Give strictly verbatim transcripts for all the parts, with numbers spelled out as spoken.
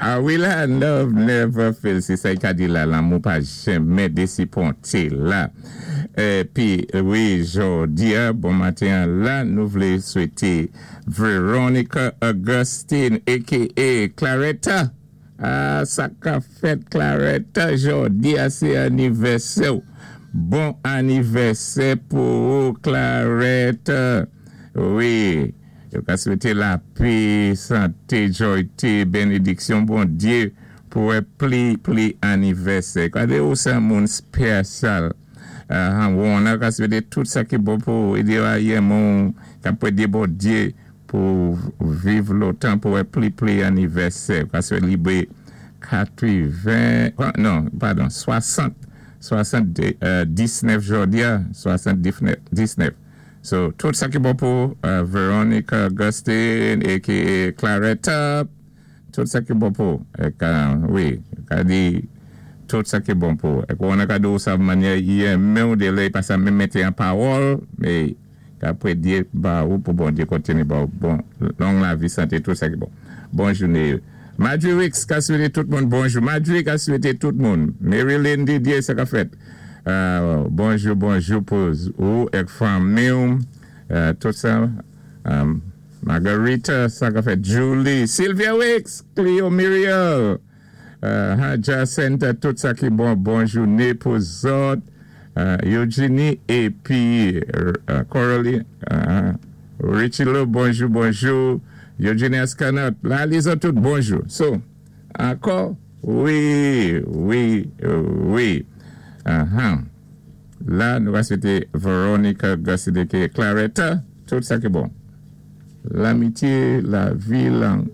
Ah wi la, love never fails. Sé sa i ka di la, lanmou pa janmè désiponté la. Épi, wi, jòdi-a, bon maten la, nou vlé swété Veronica Augustine, aka Claretta. Ah, sa ka fèt Claretta, jòdi-a, sé anivèsè. Bon anivèsè pou Claretta. Wi, yo ka swété lapè, santé, jwayté, bénédiksyon, Bondyé, pou wè pli, pli anivèsè. Kadé ou sé moun spésyal. Uh, on ka swété tout sa ki bon pou édé ayé moun, ka pwédé Bondyé pou viv lontan pou wè pli, pli anivèsè. Ka sélébré katwen, non, padon, swasant, swasant-diznèf jòdi-a, swasant-diznèf. So, tout sa ki bon pou uh, Veronica Augustine aka Claretta, tout sa ki bon pou, ék, wi, ka di, tout sa ki bon pou. Ék on ka di sa mannyè i renmen ou déllè pa sa menm mété an pawòl, mé ka pwédyé ba ou pou Bondyé kontiné ba ou bon, long lavi, santé, tout sa ki bon. Bon jouné. Marjorie Wicks ka swété tout moun bonjou. Marjorie ka swété tout moun. Marilyn Didier, sa ka fèt. Euh, bonjou, bonjou pou ou ék fanmi ou, euh, tout sa. Um, Margarita, sa ka fèt. Julie, Sylvia Wicks, Cleo Muriel, euh, Jacinta, tout sa ki bon, bon jouné pou zòt. Euh, Eugenie épi euh, Coralie, euh, Richie Lo, bonjou, bonjou. Eugenie Ascanot, la, lizòt tout bonjou. So, ankò, wi, wi, wi. Uh-huh. La, nou va swété Veronica Augustine aka Claretta, tout sa ki bon. Lamityé, lavi, lan,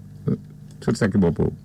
tout sa ki bon pou.